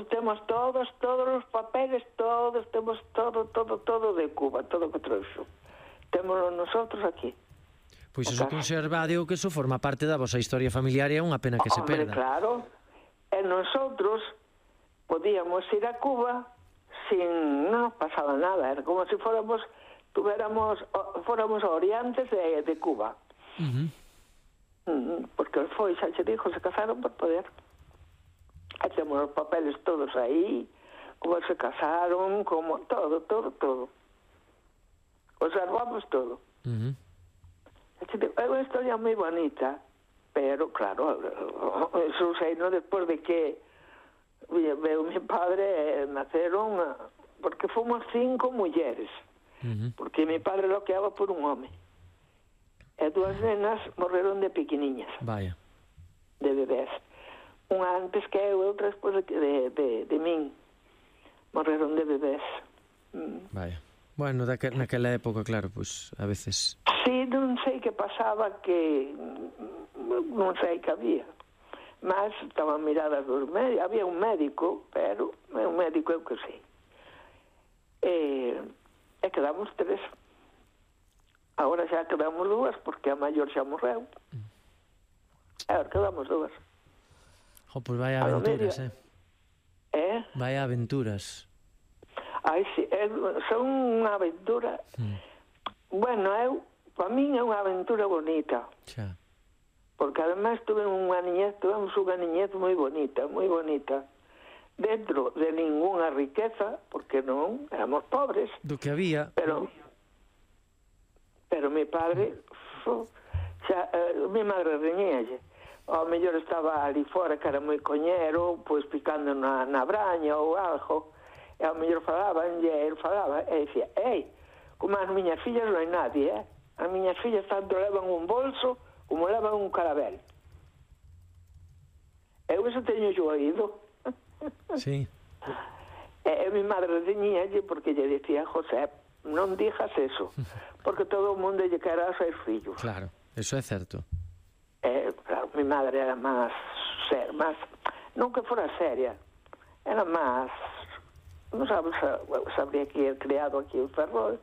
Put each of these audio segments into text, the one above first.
temos todos os papeles, temos todo de Cuba, todo o que trouxo. Témoslo nosotros aquí. Pois eso conservade, que eso forma parte da vosa historia familiar e é unha pena que se perda. Claro, e nosotros podíamos ir a Cuba sin, non nos pasaba nada, era como se fóramos oriantes de Cuba. Porque foi, xa che dixo, se casaron por poder. E temos os papeles todos aí, como se casaron, como todo. Observamos todo. É unha historia moi bonita, pero claro, eso sei, no, despois de que veo mi padre, naceron, porque fomos 5 mulleres, porque mi padre loqueaba por un home, e 2 nenas morreron de pequeniñas, vaya, de bebés, unha antes que eu, outra despois de min, morreron de bebés. Vaya. Bueno, naquela época, claro, pois a veces... Sí, non sei que pasaba, que non sei que había, mas estaban miradas dos médicos, había un médico, pero un médico eu que sei. E quedamos 3. Agora xa quedamos 2, porque a maior xa morreu. Agora quedamos 2. Pois vaya aventuras, Vaya aventuras. Ai, sí, son unha aventura. Bueno, para min é unha aventura bonita. Xa. Porque además tuvemos unha niñez moi bonita, dentro de ninguna riqueza, porque non, éramos pobres. Do que había. Pero mi padre, mi madre reñíalle. Ao mellor estaba ali fora, que era moi coñero, pois picando na braña ou algo, e ao mellor ele falaba, e dicía, como as miñas fillas non hai nadie, as miñas fillas tanto levan un bolso como levan un carabel. Eu eso teño yo oído. Sí. E mi madre reñíalle porque lle dicía, José, non dijas eso, porque todo o mundo lle quera a seus fillos. Claro, eso é certo. Claro, mi madre era máis non que fora seria, era máis, non sabría que er criado aquí en Ferrol,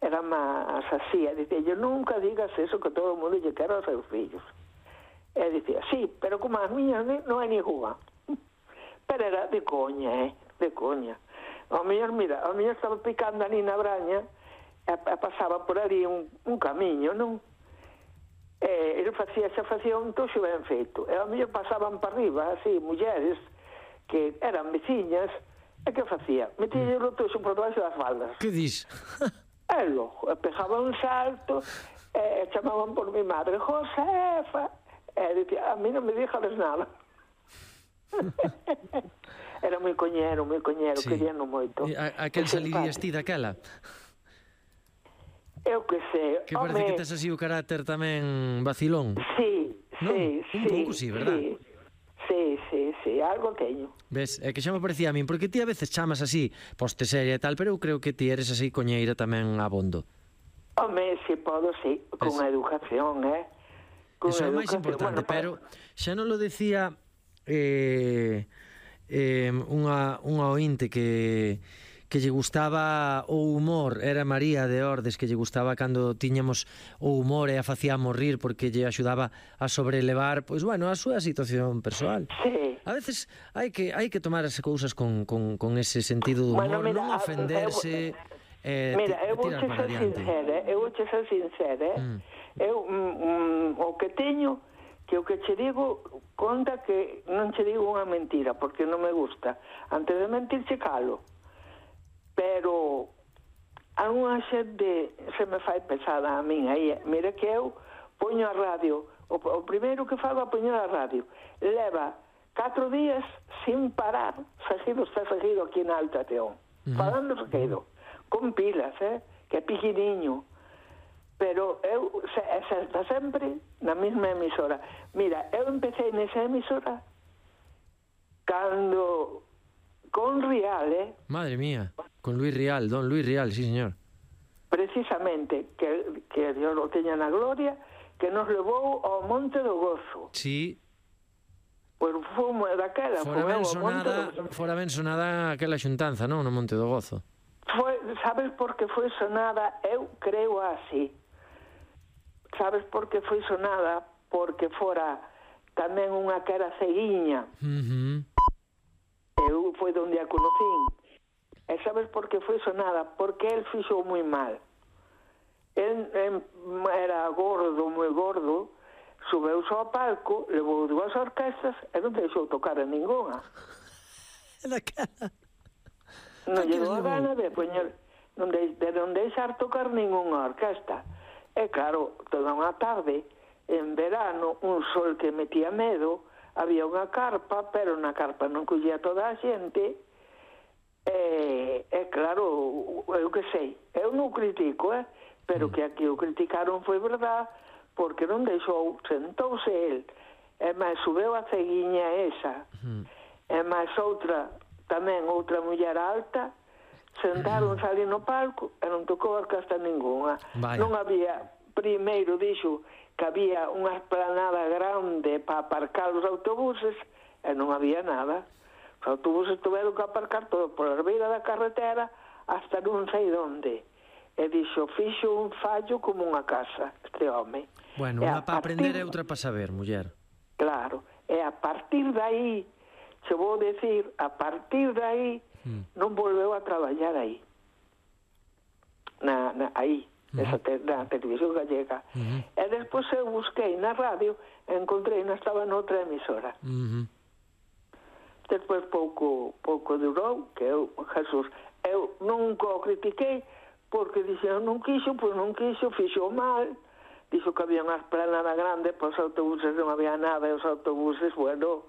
era máis así, e dicía, yo nunca digas eso, que todo o mundo lle quera aos seus fillos. E dicía, sí, pero como as miñas non hai ninguna. Pero era de coña, de coña. Ao mellor, mira, ao mellor estaba picando ali na braña, e pasaba por ali un camiño, non? Ele xa facía un toxo ben feito, e ao mellor pasaban para arriba, así, mulleres que eran veciñas, e que facía? Metílle o toxo por debaixo das faldas. Que dis? E logo, pegaba un salto, e chamaban por mi madre, Josefa, e dicía, a mí non me dixades nada. Era moi coñero, sí. Queríano moito. A quen salirías ti daquela? Eu que sei. Que parece que tes así o carácter tamén vacilón. Sí. Un pouco, sí, verdad? Sí, algo teño. Ves, é que xa me parecía a min, porque ti a veces chamas así, poste seria e tal, pero eu creo que ti eres así coñeira tamén abondo. Se podo, sí, con educación, Eso é o máis importante, pero xa non lo decía unha ointe que lle gustaba o humor, era María de Ordes, que lle gustaba cando tiñamos o humor e a facíamos rir porque lle axudaba a sobrelevar, pois bueno, a súa situación persoal. Sí. A veces hai que tomar as cousas con ese sentido do humor, mira, non ofenderse e tirar para adiante. Eu vou ser sincera, o que teño, que o que che digo, conta que non che digo unha mentira, porque non me gusta. Antes de mentir, che calo. Pero algunha xente se me fai pesada a min aí. Mira que eu poño a radio, o primeiro que fago é poño a radio, leva 4 días sin parar, está seguido aquí na Alta Teón, falando seguido, con pilas, que é piquiniño, pero eu está sempre na mesma emisora. Mira, eu empecé nesa emisora cando con Rial, Madre mía, con Luis Rial, don Luis Rial, sí, señor. Precisamente, que Dios lo teña na gloria, que nos levou ao Monte do Gozo. Sí. Pois fumo daquela. Fora ben sonada aquela xuntanza, non? No Monte do Gozo. Sabes por que foi sonada? Eu creo así. Sabes por que foi sonada? Porque fora tamén unha que era ceguiña. Eu foi onde a conocín. E sabes por que foi sonada? Porque el fixo moi mal. El era gordo, moi gordo, subeu ao palco, levou 2 orquestas e non deixou tocar a ninguna. Non llegou a gana de poñer, de non deixar tocar ninguna orquesta. E claro, toda unha tarde, en verano, un sol que metía medo, había unha carpa, pero na carpa non collía toda a xente, e claro, eu que sei, eu non critico, pero que aquí o criticaron foi verdad, porque non deixou, sentouse el, e máis subeu a ceguiña esa, e máis outra, tamén outra muller alta, sentaronse ali no palco e non tocou orquesta ninguna. Non había, primeiro dixo que había unha esplanada grande para aparcar os autobuses e non había nada. Os autobuses tuveron que aparcar todo por a beira da carretera hasta non sei onde. E dixo, fixo un fallo como unha casa este home. Bueno, unha para aprender e outra para saber, muller. Claro, e a partir de aí, se vou decir, a partir de aí non volveu a traballar aí. Aí, na televisión gallega. E despois eu busquei na radio e encontrei, non estaba noutra emisora. Despois pouco durou, que eu, Jesús, eu nunca o critiquei, porque dixen, non quixo, pois non quixo, fixo mal, dixo que había unha esplanada grande, pois os autobuses non había nada, e os autobuses, bueno,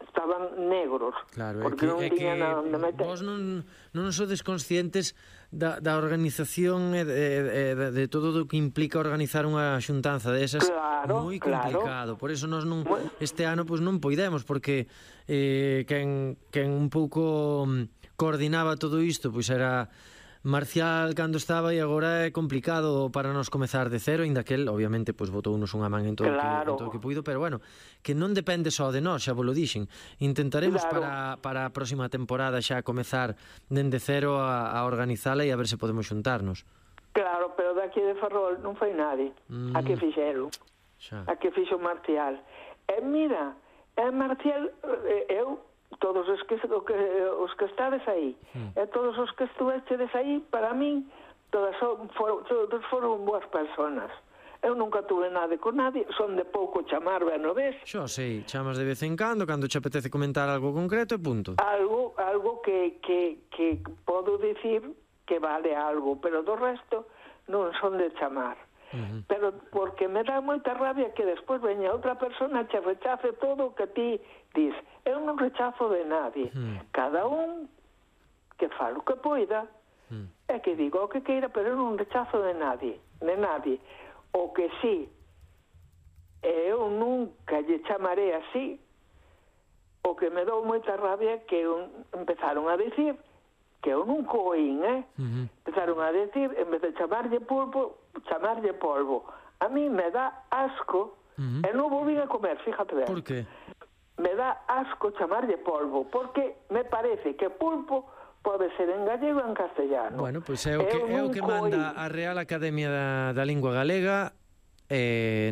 estaban negros, claro, porque non tiña nada onde meter. Vos non sodes conscientes da organización e de todo o que implica organizar unha xuntanza desas, moi complicado. Por eso nós este ano pois non poidemos, porque quen un pouco coordinaba todo isto pois era Marcial cando estaba, e agora é complicado para nos comezar de cero, ainda que el, obviamente, pois botounos unha man en todo o que puido, pero bueno, que non depende só de nós, xa vos lo dixen. Intentaremos para a próxima temporada xa comezar dende cero a organizala e a ver se podemos xuntarnos. Claro, pero daqui de Ferrol non foi nadie. A que fixeron. A que fixo Marcial. E mira, Marcial, eu... todos os que estades aí e todos os que estuvechedes aí, para min todos foron boas personas. Eu nunca tuve nada con nadie, son de pouco chamar, ben o ves? Xo sei, chamas de vez en cando te apetece comentar algo concreto e punto. Algo que podo dicir que vale algo, pero do resto non son de chamar. Pero porque me dá moita rabia que despois veña outra persona che rechace todo o que ti dis. Eu non rechazo de nadie. Cada un que falo que poida e que digo o que queira, pero eu non rechazo de nadie. O que sí, eu nunca lle chamaré así, o que me dou moita rabia que empezaron a decir que eu nunca oín, empezaron a decir, en vez de chamarlle polvo. A mí me dá asco, e non volví a comer, fíjate ben. Por que? Me dá asco chamarlle polvo, porque me parece que pulpo pode ser en gallego e en castellano. Bueno, pois é o que manda a Real Academia da Lingua Galega,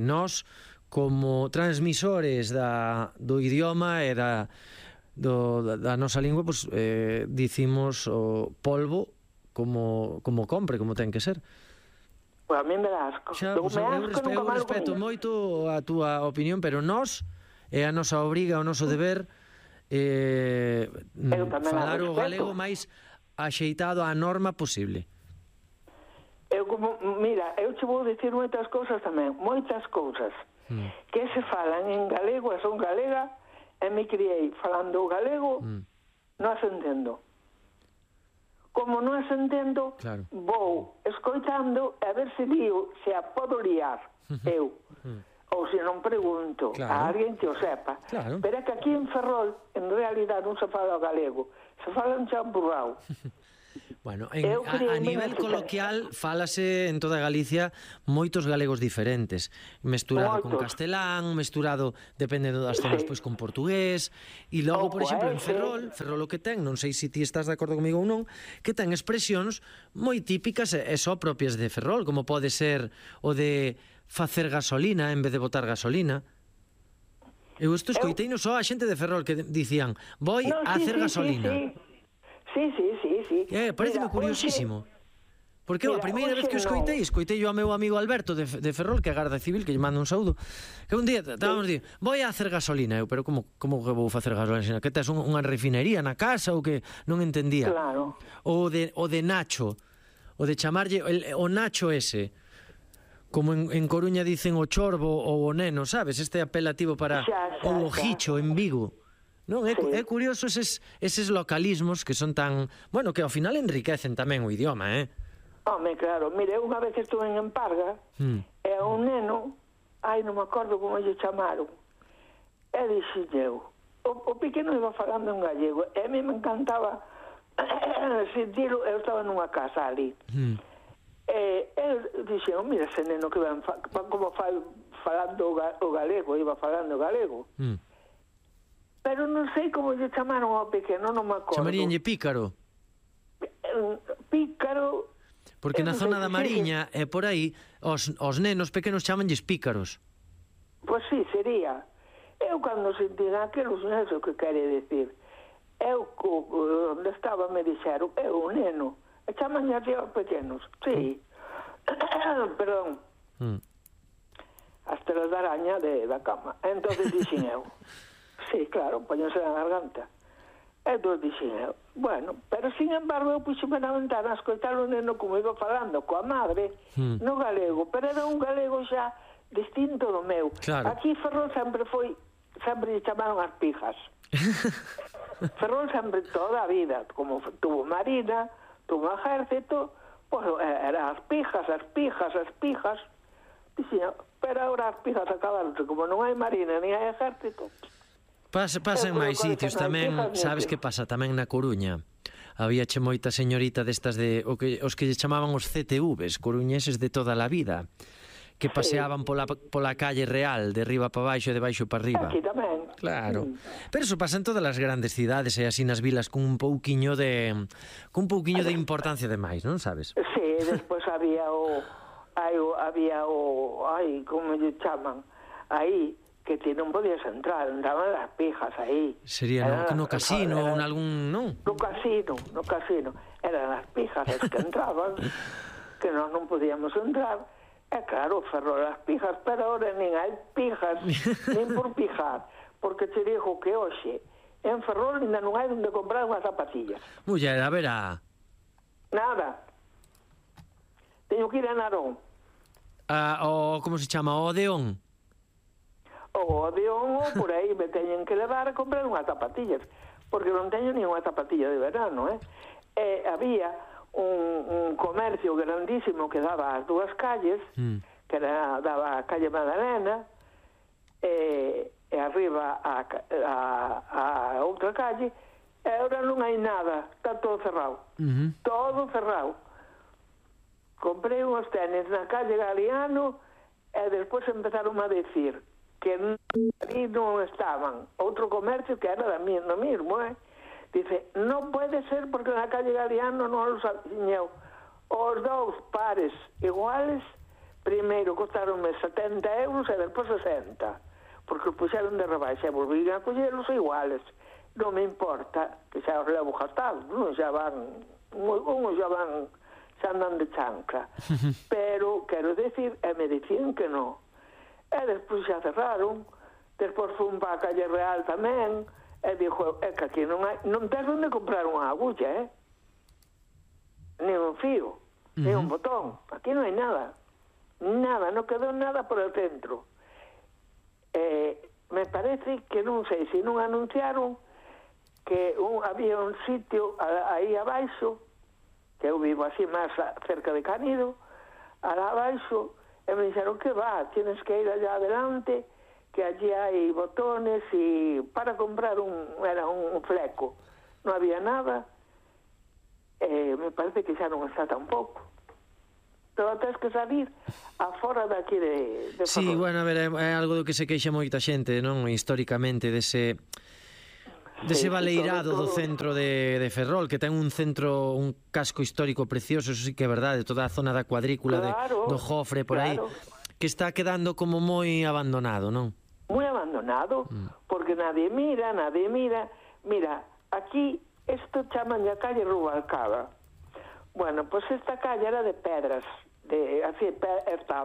nós, como transmisores do idioma e da nosa lingua, pois dicimos o polvo como compre, como ten que ser. Pois a mí me dá asco. Eu respeto moito a túa opinión, pero nós é a nosa obriga, o noso deber falar o galego máis axeitado á norma posible. Mira, eu che vou dicir moitas cousas tamén, moitas cousas que se falan en galego e son galega, e me criei falando o galego, non as entendo. Como non as entendo, vou escoitando a ver se lío, se a podo liar eu. Ou se non pregunto a alguén que o sepa. Pero é que aquí en Ferrol, en realidad, non se fala o galego, se fala un champurrao. Bueno, a nivel coloquial fálase en toda Galicia moitos galegos diferentes, mesturado con castelán, mesturado, dependendo das zonas, pois con portugués, e logo, por exemplo, en Ferrol o que ten, non sei se ti estás de acordo comigo ou non, que ten expresións moi típicas e só propias de Ferrol, como pode ser o de facer gasolina en vez de botar gasolina. Eu isto escoiteino só a xente de Ferrol que dicían, vou a hacer gasolina. Sí. Pareceme curiosísimo. Porque a primeira vez que o escoitei ao meu amigo Alberto de Ferrol, que é Garda Civil, que lle manda un saúdo, que un día estábamos dicindo, vou a hacer gasolina. Eu, pero como que vou facer gasolina? Que tes unha refinería na casa ou que non entendía? Claro. O de Nacho, o de chamarlle o Nacho ese, como en Coruña dicen o chorbo ou o neno, sabes? Este apelativo para o ojicho en Vigo. Non, é curioso eses localismos que son tan... Bueno, que ao final enriquecen tamén o idioma, Home, claro. Mire, unha vez que estuve en Emparga, e a un neno, non me acordo como lle chamaron, e dixen eu, o pequeno iba falando en gallego, e a mí me encantaba sentirlo, eu estaba nunha casa ali, e dixen, mira ese neno que van como falando o galego, iba falando o galego, pero non sei como lle chamaron ao pequeno, non me acordo. Chamaríanlle Pícaro? Pícaro... Porque na zona da Mariña e por aí, os nenos pequenos chamanlles pícaros. Pois sí, sería. Eu cando sentín aquilo, non sei o que quere decir. Eu, onde estaba, me dixeron, un neno. E chamanlle así aos pequenos. Sí. Perdón. As telas de araña da cama. Entonces dixen eu. Sí, claro, poñense na garganta. Entón dixen eu, bueno, pero sin embargo eu puxeme na ventana a escoitar o neno como iba falando coa madre no galego, pero era un galego xa distinto do meu. Claro. Aquí Ferrol sempre lle chamaron as pijas. Ferrol sempre toda a vida, como tuvo marina, tuvo ejército, pues era as pijas. Dixen, pero ahora as pijas acabaron, como non hai marina ni hai ejército. Pasa en máis sitios tamén, sabes que pasa tamén na Coruña. Habíache moita señorita destas os que lle chamaban os CTVs, coruñeses de toda a vida, que paseaban pola calle real, de riba para baixo e de baixo para riba. Aquí tamén. Claro. Pero eso pasa en todas as grandes cidades e así nas vilas con un pouquiño de importancia de máis, non sabes? Sí, despois había como lle chaman, aí, que ti non podías entrar, andaban las pijas aí. Sería no casino ou algún, non? No casino. Eran as pijas as que entraban, que nós non podíamos entrar. E claro, Ferrol as pijas, pero ahora nin hai pijas, nin por pijar, porque te digo que hoxe en Ferrol ainda non hai onde comprar unhas zapatillas. Muller, a verá. Nada. Teño que ir a Narón. Como se chama? O Odeón? O Odeón, ou por aí me teñen que levar a comprar unhas zapatillas, porque non teño ni unha zapatilla de verano, había un comercio grandísimo que daba as dúas calles, que daba a calle Madalena, e arriba a outra calle, e agora non hai nada, está todo cerrado. Todo cerrado. Comprei uns tenis na calle Galiano e despois empezaron a decir que ali non estaban. Outro comercio que era no mismo, dice, non pode ser porque na calle Galiano non los aciñeu. Os dous pares iguales, primeiro costaronme 70 euros e despois 60, porque os puxeron de rebaixa e volvín a collelos iguales. Non me importa que xa os levo gastados, non xa van, unhos xa van, xa andan de chancla. Pero, quero decir, me dicían que non. E despois xa cerraron, despois fun para a calle Real tamén, e dixo, que aquí non tens onde comprar unha agulla, nin un fío, nin un botón, aquí non hai nada, non quedou nada por el centro. Me parece que non sei se non anunciaron que había un sitio aí abaixo, que eu vivo así máis cerca de Canido, alá abaixo, e me dixeron que tienes que ir allá adelante, que allí hai botones e para comprar era un fleco. Non había nada. me parece que xa non está tampouco. Pero tens que salir afora daqui de Sí, Ferrol. bueno, a ver, é algo do que se queixa moita xente, non? Históricamente, dese baleirado do centro de Ferrol, que ten un casco histórico precioso, eso sí que é verdade, toda a zona da cuadrícula, do Jofre, por aí, que está quedando como moi abandonado, non? Moi abandonado, porque nadie mira. Mira, aquí, isto chaman a calle Rubalcaba. Bueno, pois esta calle era de pedras, así,